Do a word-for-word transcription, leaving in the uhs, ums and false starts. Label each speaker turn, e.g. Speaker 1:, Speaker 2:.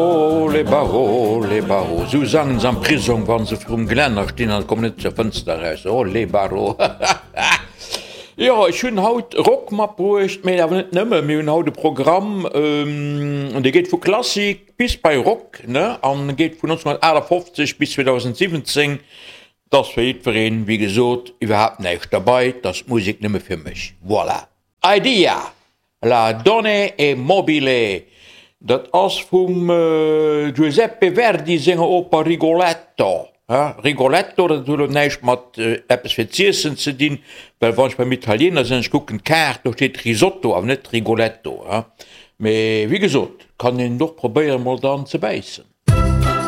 Speaker 1: Oh les barreaux, les barreaux, sou sangen se am Prisong, wann se virum Gelänner stinn an kommen net zur Fënster eraus. Oh les barreaux. Jo, ech hunn haut Rock matbruecht, mee awer net nëmme. Mir hunn haut e Programm, an dee geet vu Klassik bis bei Rock, ne, an geet vun nonzénhunnertaachtafoffzeg bis zweedausendsiwwenzéng. 't ass fir jiddwereen, wéi gesot, iwwerhaapt näischt derbei, 't ass Musek nëmme fir mech. Voilà. Idea! La donna è mobile, dat ass vum Giuseppe Verdi senger Oper Rigoletto. Rigoletto, dat huet elo näischt mat eppes fir z'iessen ze dinn, well wann ech beim Italiener sinn an ech kucken d'Kaart, do steet Risotto, awer net Rigoletto. Mee wéi gesot, kann een och probéieren, mol dran ze bäissen.